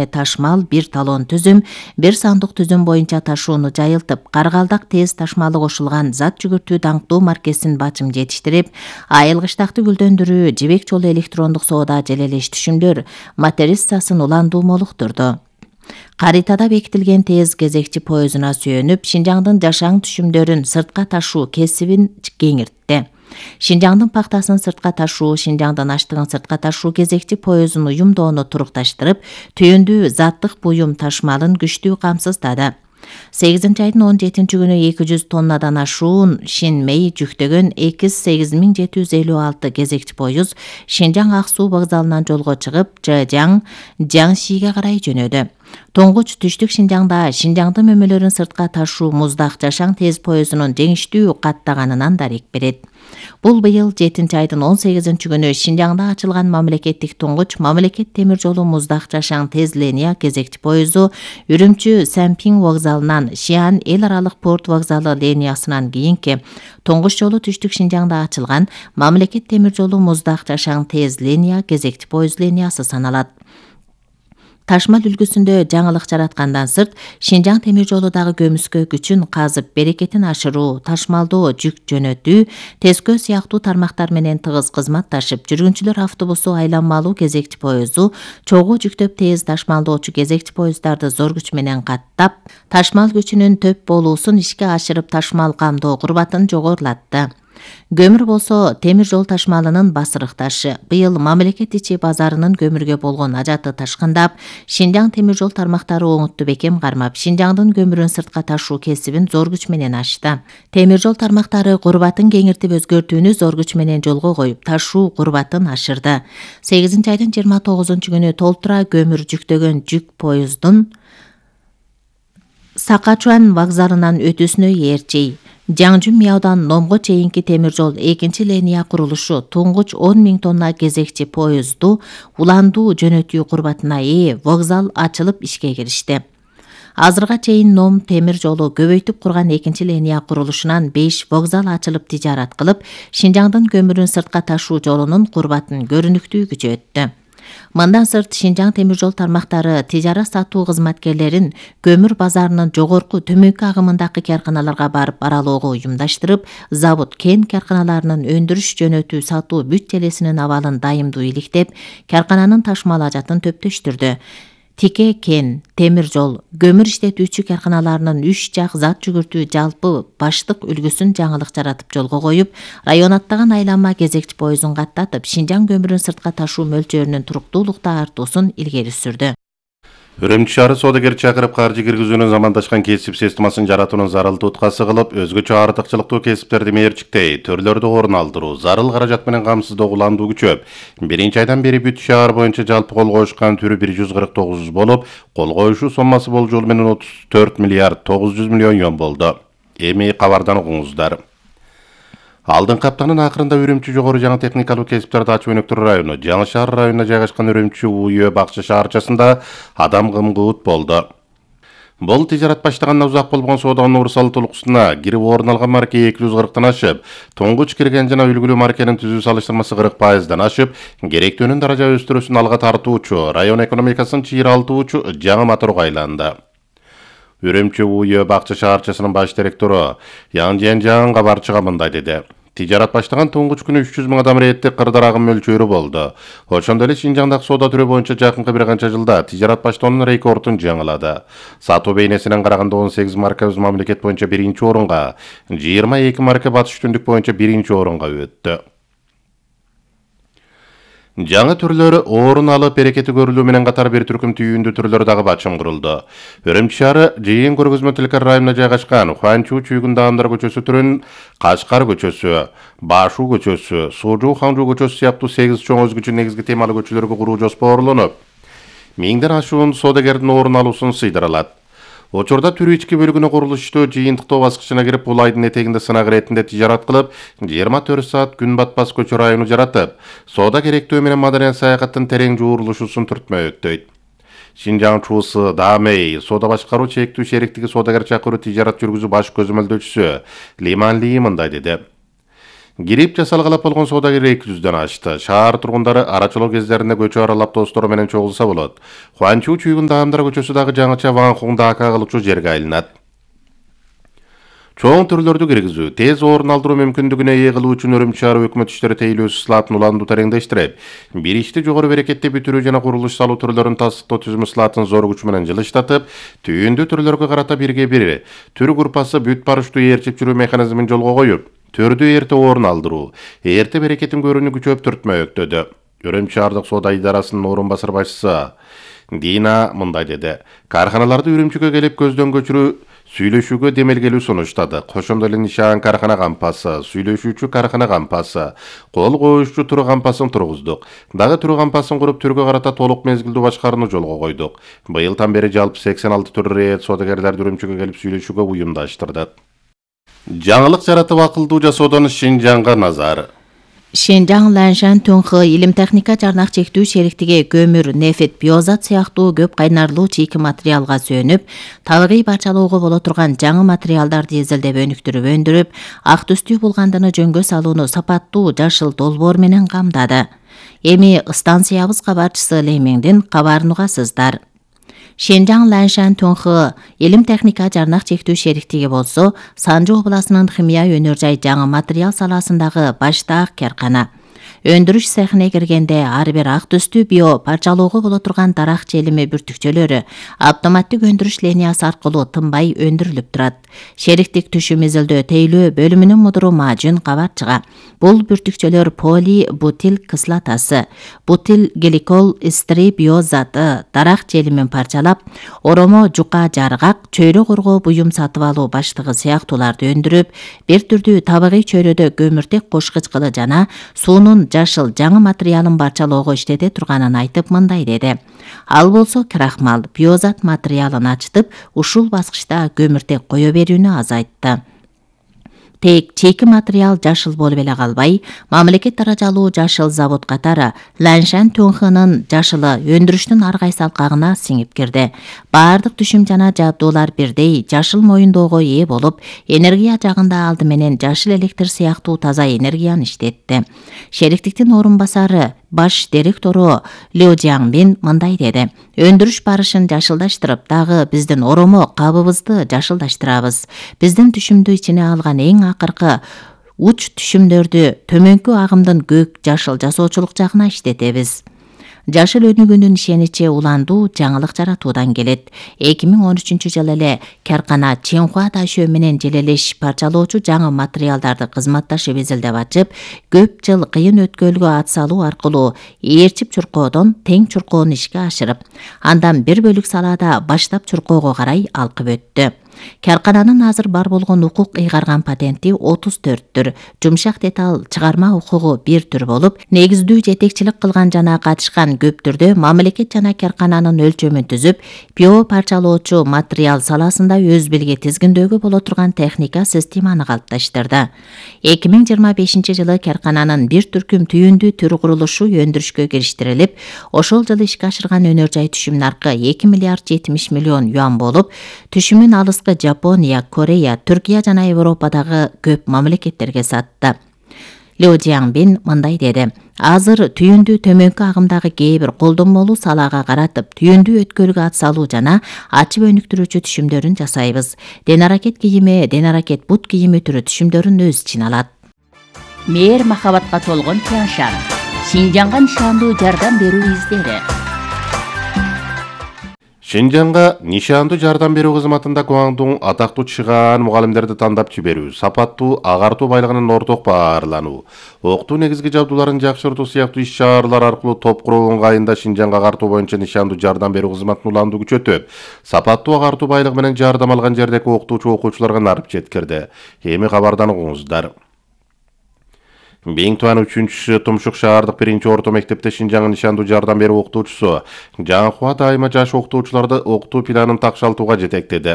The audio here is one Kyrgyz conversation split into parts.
ташмал, бир талон түзүм, бир сандык түзүм боюнча ташууну жайылтып, Каргалдак тез ташмалы кошулган зат жүгүртүү даңктуу маркесин бачым жетиштирип, айылгычтакты гүлдөндүрүү, жибек жолу электрондук соода желелеш түшүмдөр материссасын уландуу молуктурду. Каритада бекитилген тез кезекчи поездуна сүйөнүп, Шинжаңдын жашаң түшүмдөрүн сыртка ташуу кесибин кеңиртти. Шинжаңдын пактасын сыртка ташуу, Шинжаңдын аштыгын сыртка ташуу кезекчи поездун уюмдоону турукташтырып, түйүндүү заттык буюм ташмалын күчтүү камсыздады. 8-айдын 17-күнү 200 тоннадан ашуун Шинмей жүктөгөн 8756 кезекчи поезд Шинжаң Ак Суу вокзалынан жолго чыгып, Жэжяң, Жаңшиге карай жөнөдү. Тоңгуч түштүк Шинжаңда Шинжаңдын мөмөлөрүн сыртка ташуу муздак жашаң тез поездунун жеңиштүү каттаганынан дарек берет. Бул быйыл 7-айдын 18-күнү Шинжаңда ачылган мамлекеттик туңгуч мамлекет темир жолу муздак жашаң тез линия кезекчи поезду Үрүмчү Сәмпиң вокзалынан Шиан эл аралык порт вокзалы линиясынан кийинки туңгуч жолу түштүк Шинжаңда ачылган мамлекет темир жолу муздак жашаң тез линия кезекчи поезд линиясы саналат. Ташмал үлгүсүндө жаңылык жараткандан сырт, Шинжаң темир жолудагы көмүскө күчүн казып, берекетин ашыруу, ташмалдоо, жүк жөнөтүү, тескөө сыяктуу тармактар менен тыгыз кызматташып, жүргүнчүлөр автобусу айланмалуу кезекчи поезду, чогуу жүктөп тез ташмалдоочу кезекчи поезддарды зор күч менен каттап, ташмал күчүнүн төп болуусун ишке ашырып, ташмал камдоо курбатын жогорулатты. Көмүр болсо темир жол ташмалынын басырык ташы. Быйыл мамлекет ичи базарынын көмүргө болгон ажаты ташкындап, Шинжаң темир жол тармактары оңутту бекем кармап, Шинжаңдын көмүрүн сыртка ташуу кесибин зор күч менен ачты. Темир жол тармактары курбатын кеңиртип өзгөртүүнү зор күч менен жолго коюп, ташуу курбатын ашырды. 8-айдын 29-күнү толтура көмүр жүктөгөн жүк поездун Сакачуан вокзалынан өтүүсүнө ээрчей. Жаңжүм Мияудан Номго чейинки темир жол 2 линия курулушу туңгуч 10 000 тонна кезекчи поезду уландуу жөнөтүү курбатына ээ вокзал ачылып ишке киришти. Азырга чейин Ном темир жолу көбөйтүп курган 2 линия курулушунан 5 вокзал ачылып тижарат кылып, Шинжаңдын көмүрүн сыртка ташуу жолунун курбатын көрүнүктүү күчөттү. Мындан сырт Шинжаң темир жол тармактары тижара сатуу кызматкерлерин көмүр базарынын жогорку төмөнкү агымындагы карканаларга барып аралоого уюмдаштырып, завод кен карканаларынын өндүрүш жөнөтүү сатуу бүт желесинин абалын дайымдуу иликтеп, каркананын ташмал ажатын төптөштүрдү. Тике кен, темир жол, көмүр иштетүүчү карканаларынын 3 жак зат жүгүртүү жалпы баштык үлгүсүн жаңылык жаратып жолго коюп, район аттаган айланма кезекчи поездун каттатып, Шинжаң көмүрүн сыртка ташуу мөлчөрүнүн туруктуулукта артуусун илгери сүрдү. Үрүмчү шаары соодагер чакырып каржы киргизүүнүн замандашкан кесип системасын жаратуунун зарыл туткасы кылып, өзгөчө артыкчылыктуу кесиптерди мээрчиктей, төрлөрдү орун алдыруу, зарыл каражат менен камсыздоо уландуу күчөп, 1-айдан бери бүт шаар боюнча жалпы кол коюшкан түрү 149 болуп, кол коюшуу соммасы болжол менен 34 миллиард 900 миллион сом болду. Эми кабардан угуңуздар. Алдыңкы аптанын акырында Үрүмчү жогору жаңы техникалык кесиптерди ачуу өнөктөр району, Жаңы шаар районуна жайгашкан Үрүмчү УЮ бакча шаарчасында адам кымгуут болду. Бул тижарат баштагандан узак болгон соодагы Нур Салыт улукусуна кирип орун алган марке 240тан ашып, туңгуч кирген жана үлгүлүү маркенин түзүү салыштырмасы 40%дан ашып, керектөөнүн даража өстүрүүсүн алга тартуучу, район экономикасын чыйралтуучу жаңы моторго айланды. Үрүмчү УЮ бакча шаарчасынын баш директору Яңжен Жаң кабарчыга мындай деди. Тижарат баштаган туңгуч күнү 300 000 адам рейдтик кырдар агым мөлчөрү болду. Ошондой эле Шинжаңдагы соода түрү боюнча жакынкы бир канча жылда тижарат баштоонун рекордун жаңылады. Сатуу бейнесинен караганда 18 марка өз мамлекет боюнча 1-орунга, 22 марка батыш түндүк боюнча 1-орунга өттү. Жаңы түрлөрү орун алып, берекети көрүлүү менен катар бир түркүм түйүндүү түрлөр дагы бачым курулду. Үрүмчү шаары жыйын көргөзмө тилкар районуна жайгашкан Хуанчу чүйгүндө Адамдар көчөсү түрүн Качкар көчөсү, Башу көчөсү, Сужу Ханжу көчөсү сыяктуу 8 чоң өзгөчө негизги темалуу көчөлөргө куруу жоспарланып, 1000ден ашуун соодагердин орун алуусун сыйдыралат. Учурда түрү ички бөлүгүнө курулуштуу жыйынтыктоо баскычына кирип, бул айдын этегинде сынак иретинде тижарат кылып, 24 саат күн батпас көчө району жаратып, соода керектөө менен маданият саякаттын терең жуурулушуусун түртмөй өттөйт. Шинжаң чуусу Дамей соода башкаруу чектүү шериктиги соодагер чакыруу тижарат жүргүзүү баш көзөмөлдөөчүсү Лиман Ли мындай деди. Кирип жасалгалап болгон соодагер 200дөн ашты. Шаар тургундары арачылоо кездеринде көчө аралап достору менен чогулса болот. Хуанчу чүйгүн Даамдар көчөсү дагы жаңыча Ванхуңда ака кылчу жерге айланат. Чоң түрлөрдү киргизүү, тез орун алдыруу мүмкүндүгүнө ээ кылуу үчүн Өрүмчү шаар өкмөт иштери тейлөөсү слатын уландуу тереңдештирип, бир ишти жогору берекетте бүтүрүү жана курулуш салуу түрлөрүн тастыктоо түзүмү слатын зор күч менен жылыштатып, түйүндүү түрлөргө карата бирге бир түр группасы бүт барыштуу ээрчип жүрүү механизмин жолго коюп, түрдүү эрте орун алдыруу, эрте берекетин көрүүнү күчөптүртмө өктөдү. Өрүмчү шаардык соода идарасынын орун басар башчысы Дина мындай деди. Карханаларды Үрүмчүгө келип көздөн көчүрүү сүйлөшүүгө демелгелүү сунуштады. Кошондо эле нишан кархана кампасы, сүйлөшүүчү кархана кампасы, кол коюшчу туру кампасын тургуздук. Дагы туру кампасын куруп түргө карата толук мезгилдүү башкарууну жолго койдук. Быйылдан бери жалпы 86 түр рейд соодагерлерди Үрүмчүгө келип сүйлөшүүгө уюмдаштырдык. Жаңылык жаратып акылдуу жасоодон Шинжаңга назар. Шинжаң Ланшан Тунхы илим техника жарнак чектүү шериктиги көмүр, нефт, биозат сыяктуу көп кайнарлуу чийки материалга сүйөнүп, табигый барчалоого боло турган жаңы материалдарды изилдеп өнүктүрүп өндүрүп, ак түстүү булгандыны жөнгө салууну сапаттуу жашыл долбоор менен камдады. Эми станциябыз кабарчысы Лемиңдин кабарын угасыздар. Шинжаң Ланшан Тунхы илим техника жарнак чектүү шериктиги болсо, Санжы областынын химия өнөр жай жаңы материал саласындагы баштаак каркана. Өндүрүш цехине киргенде ар бир ак түстүү био парчалоого боло турган дарак желими бүртүкчөлөрү автоматтык өндүрүш линиясы аркылуу тынбай өндүрүлүп турат. Шериктик түшүм изилдөө тейлөө бөлүмүнүн мудуру Мажун кабарчыга. Бул бүртүкчөлөр поли бутил кислотасы, бутил гликол эстери биозаты, дарак желимин парчалап, оромо жука жаргак, чөйрө коргоо буюм сатып алуу баштыгы сыяктууларды өндүрүп, бир түрдүү табигый чөйрөдө көмүртек кошкуч кылы жана суунун жашыл жаңы материалын барчалоого иштете турганын айтып мындай деди. Ал болсо крахмал, биозат материалын ачтып, ушул баскычта көмүртек кое берүүнү азайтты. Тек чейки материал жашыл болуп эле калбай, мамлекет даражалуу жашыл завод катары Ланшан Тунхынын жашылы өндүрүштүн ар кайсы алкагына сиңип кирди. Баардык түшүм жана жабдуулар бирдей жашыл моюндоого ээ болуп, энергия жагында алды менен жашыл электр сыяктуу таза энергияны иштетти. Шериктиктин орун басары баш директору Лю Жиаңбин мындай деди. Өндүрүш барышын жашылдаштырып, дагы биздин оромо кабыбызды жашылдаштырабыз. Биздин түшүмдү ичине алган эң акыркы уч түшүмдөрдү төмөнкү агымдын көк жашыл жасоочулук жагына иштетебиз. Жашыл өнүгүүнүн ишеничи уландуу жаңылык жаратуудан келет. 2013-жылы эле каркана Ченхуа Дашөө менен желелеш парчалоочу жаңы материалдарды кызматташып изилдеп ачып, көп жыл кыйын өткөлгө ат салуу аркылуу ээрчип чуркоодон тең чуркоону ишке ашырып, андан бир бөлүк салаада баштап чуркоого карай алкып өттү. Каркананын азыр бар болгон укук ыйгарган патенти 34 жумшак деталь чыгарма укугу 1 түр болуп, негиздүү жетекчилик кылган жана катышкан көп түрдө мамлекет жана каркананын өлчөмүн түзүп, био парчалоочу материал саласында өз белге тизгиндөөгө боло турган техника системаны калыпташтырды. 2025-жылы каркананын бир түркүм түйүндүү төр курулушу өндүрүшкө кириштирилип, ошол жылы ишке ашырган өнөр жай түшүм наркы 2 миллиард 70 миллион юан болуп, түшүмүн алыскы Жапония, Корея, Түркия жана Европадагы көп мамлекеттерге сатты. Лю Жиаңбин мындай деди. Азыр түйүндүү төмөнкү агымдагы кээ бир колдонмолуу салаага каратып, түйүндүү өткөлгө ат салуу жана ачып өнүктүрүүчү түшүмдөрүн жасайбыз. Денаракет кийими, денаракет бут кийими түрү түшүмдөрүн өз ичине алат. Мээр махабатка толгон Тяншан. Шинжаңга нишандуу жардам берүү издери. Шинжаңга нишандуу жардам берүү кызматында Гуаңдун атактуу чыгаан мугалимдерди тандап жиберүү, сапаттуу агартуу байлыгынын орток баарлануу, окутуу негизги жабдууларын жакшыртуу сыяктуу иш-чаралар аркылуу топ куруу ыңгайында Шинжаңга агартуу боюнча нишандуу жардам берүү кызматынын уландуу күчөтүп, сапаттуу агартуу байлыгы менен жардам алган жердеги окутуучу окуучуларга нарып жеткирди. Эми кабардан угуңуздар. Биң Туан 3-чү Тумшук шаардык 1-орто мектепте Шинжаңдын нишандуу жардам берүү окутуучусу Жаңхуа дайыма жаш окутуучуларды окутуу планын такшалтууга жетектеди.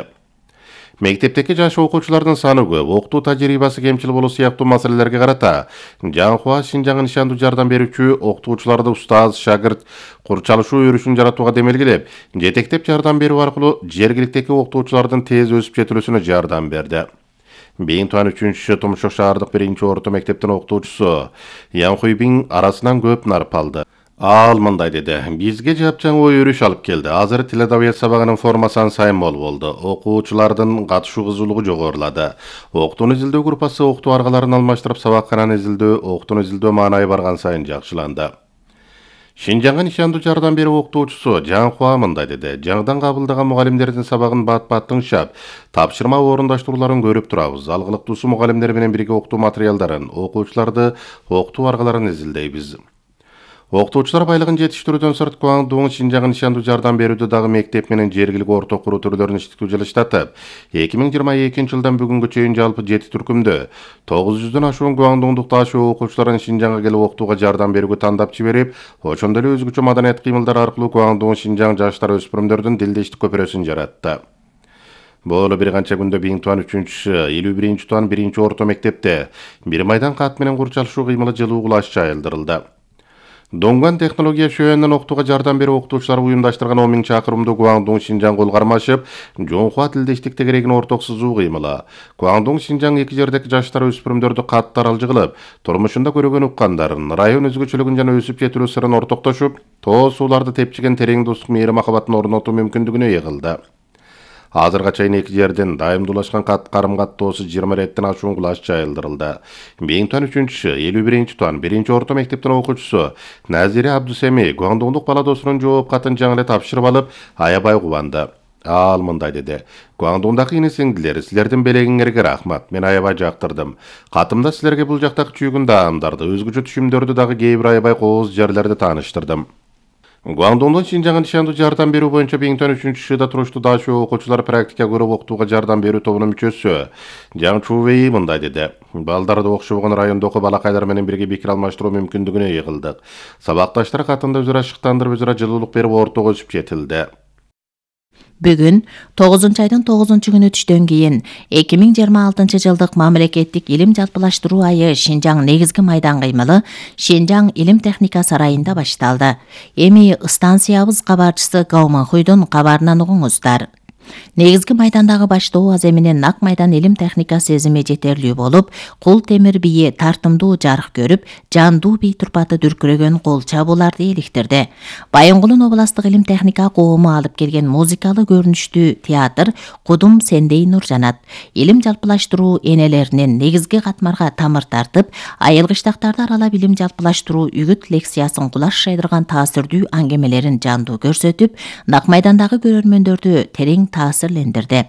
Мектептеки жаш окуучулардын саны көп, окутуу тажрыйбасы кемчил болуу сыяктуу маселелерге карата Жаңхуа Шинжаңга нишандуу жардам берүүчү окутуучуларды устаз, шагырт курчалышуу өрүшүн жаратууга демелгилеп, жетектеп жардам берүү аркылуу жергиликтеги окутуучулардын тез өсүп жетилүүсүнө жардам берди. Бейин туан 3-чү Тумшок шаардык 1-орто мектептин окутуучусу Ян Хуйбин арасынан көп нарып алды. Ал мындай деди: бизге жапжаң ой өрүш алып келди. Азыр тил адабият сабагынын формасан сайын болду. Окуучулардын катышуу кызуулугу жогорулады. Окуутууну изилдөө группасы окутуу аргаларын алмаштырып, сабаккананы изилдөө, окуутууну изилдөө маанайы барган сайын жакшыланды. Шинжаңга нишандуу жардам берүү окутуучусу Жан Хуа мындай деди: жаңыдан кабылдаган мугалимдердин сабагын бат-бат тыңшап, тапшырма орундаштырууларын көрүп турабыз. Алгылыктуусу мугалимдер менен бирге окутуу материалдарын, окуучуларды окутуу аргаларын изилдейбиз. Окутуучулар байлыгын жетиштирүүдөн сырт Гуандун Шинжаңга нишандуу жардам берүүдө дагы мектеп менен жергиликтүү орто куруу түрлөрүн иштетүү жылыштатып, 2022 жылдан бүгүнгө чейин жалпы 7 түркүмдө 900дөн ашуун Гуандундук ташуу окуучуларын Шинжаңга келип окутууга жардам берүүгө тандап жиберип, ошондой эле өзгөчө маданият кыймылдар аркылуу Гуандун Шинжаң жаштар өспүрүмдөрдүн дилдештик көпүрөсүн жаратты. Боло бир канча күндө Бейин туан 3-чү, 51-чи туан 1-орто мектепте бир майдан кат менен курчалышуу кыймылы жылуу кулаш жайылдырылды. Донган технология шөөнүнөн окутууга жардам берүү окутуучулар уюмдаштырган 10 000 чакырымдуу Гуандун Шинжаң кол кармашып, Жонхуа тилдештик тегерегин орток сызуу кыймылы. Гуандун Шинжаң эки жердеги жаштар өспүрүмдөрдү катты аралжы кылып, турмушунда көрөгөн уккандарын, район өзгөчөлүгүн жана өсүп жетилүү сырын ортоктошуп, тоо сууларды тепчиген терең достук мээри махабатын орнотуу мүмкүндүгүнө ээ кылды. Азырга чейин эки жерден дайымдуулашкан карым-каттоосу 20 реттен ашуун кулаш жайылдырылды. Бейин туан 3-чү, 51-чи туан 1-орто мектептин окуучусу Назире Абдусеми Гуандундук бала досунун жооп катын жаңы эле тапшырып алып, аябай кубанды. Ал мындай деди: Гуандундагы ине-сиңдилер, силердин белегиңерге рахмат. Мен аябай жактырдым. Катымда силерге бул жактагы чүйгүн даамдарды, өзгөчө түшүмдөрдү дагы кээ бир аябай кооз жерлерди тааныштырдым. Гуандундун Шинжаңга нишандуу жардам берүү боюнча Бейин туан 3-чү туруштуу дашуу окуучулар практика көрүп окутууга жардам берүү тобунун мүчөсү Жан Чувей мындай деди: балдарды окшобогон райондогу балакайлар менен бирге пикир алмаштыруу мүмкүндүгүнө ээ кылдык. Сабакташтар катында өзара шыктандырып, өзара жылуулук берип ортого өсүп жетилди. Бүгүн 9-айдын 9-күнү түштөн кийин 2026 жылдык мамлекеттик илим жалпылаштыруу айы Шинжаң негизги майдан кыймылы Шинжаң илим техника сарайында башталды. Эми станциябыз кабарчысы Гауманхуйдун кабарынан угуңуздар. Негизги майдандагы баштоо аз эминен Нак майдан илим техника сезими жетерлүү болуп, кул темир бийи тартымдуу жарык көрүп, жандуу бий турпаты дүркүрөгөн кол чабууларды эликтирди. Байынгулун областык илим техника коому алып келген музыкалык көрүнүштүү театр Кудум сендей нур жанат илим жалпылаштыруу энелеринин негизги катмарга тамыр тартып, айылгычтактарды аралап илим жалпылаштыруу үгүт лекциясын кулаш жайдырган таасирдүү аңгемелерин жандуу көрсөтүп, Нак майдандагы көрөрмөндөрдү терең таасирлендирди.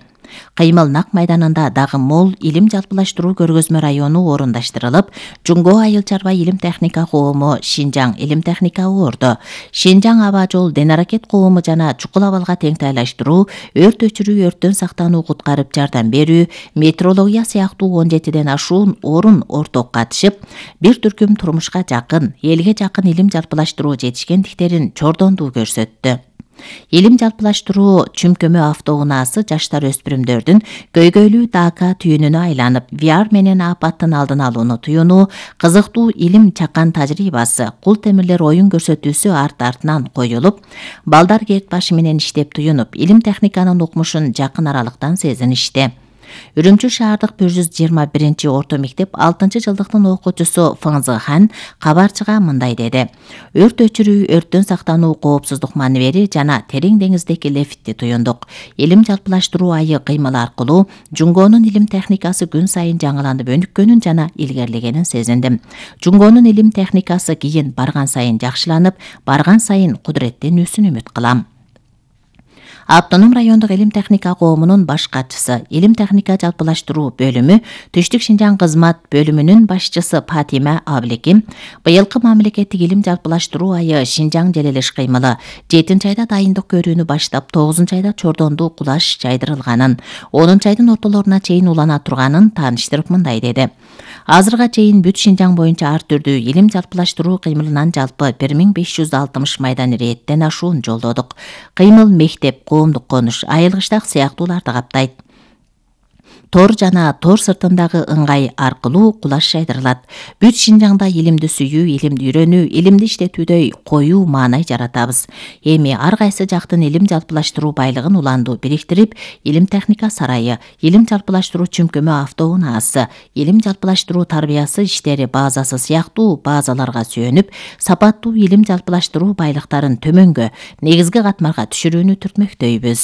Кыймыл Нак майданында дагы мол илим жалпылаштыруу көргөзмө району орундаштырылып, Жунго айыл чарба илим техника коому Шинжаң илим техника орду, Шинжаң аба жол ден аракет коому жана чукул абалга теңтайлаштыруу, өрт өчүрүү, өрттөн сактануу, куткарып жардам берүү, метрология сыяктуу 17ден ашуун орун орток катышып, бир түркүм турмушка жакын, элге жакын илим жалпылаштыруу жетишкендиктерин чордондуу көрсөттү. Илим жалпылаштыруу чүмкөмө автоунаасы жаштар өспүрүмдөрдүн көйгөйлүү дака түйүнүнө айланып, VR менен апаттын алдын алууну туюнуу, кызыктуу илим чакан тажрыйбасы, кул темирлер оюн көрсөтүүсү арт-артынан коюлуп, балдар керт башы менен иштеп туюнуп, илим техниканын укмушун жакын аралыктан сезиништи. Үрүмчү шаардык 121 орто мектеп 6 жылдыктын окуучусу Фыңзы Хан кабарчыга мындай деди: өрт өчүрүү, өрттөн сактануу, коопсуздук маневери жана терең деңиздеги лефтти туюндук. Илим жалпылаштыруу айы кыймылы аркылуу Жунгонун илим техникасы күн сайын жаңыланып өнүккөнүн жана илгерлегенин сезиндим. Жунгонун илим техникасы кийин барган сайын жакшыланып, барган сайын кудуреттенүүсүн үмүт кылам. Автоном райондук илим техника коомунун баш катчысы, илим техника жалпылаштыруу бөлүмү Түштүк Шинжаң кызмат бөлүмүнүн башчысы Патима Аблеким быйылкы мамлекеттик илим жалпылаштыруу айы Шинжаң желелеш кыймылы 7-айда дайындык көрүүнү баштап, 9-айда чордондуу кулаш жайдырылганын, 10-айдын ортолоруна чейин улана турганын тааныштырып мындай деди: азырга чейин бүт Шинжаң боюнча ар түрдүү илим жалпылаштыруу кыймылынан жалпы 1560 майдан ирээттен ашуун жолдодук. Кыймыл мектеп, коомдук конуш, айылгычтак сыяктууларды каптайт. тор жана тор сыртындагы ыңгай аркылуу кулаш жайдырылат. Бүт Шинжаңда илимди сүйүү, илимди үйрөнүү, илимди иштетүүдөй коюу маанай жаратабыз. Эми ар кайсы жактын илим жалпылаштыруу байлыгын уландуу бириктирип, илим техника сарайы, илим жалпылаштыруу чүмкөмө автоунаасы, илим жалпылаштыруу тарбиясы иштери базасы сыяктуу базаларга сүйөнүп, сапаттуу илим жалпылаштыруу байлыктарын төмөнгө, негизги катмарга түшүрүүнү түртмөктөйбүз.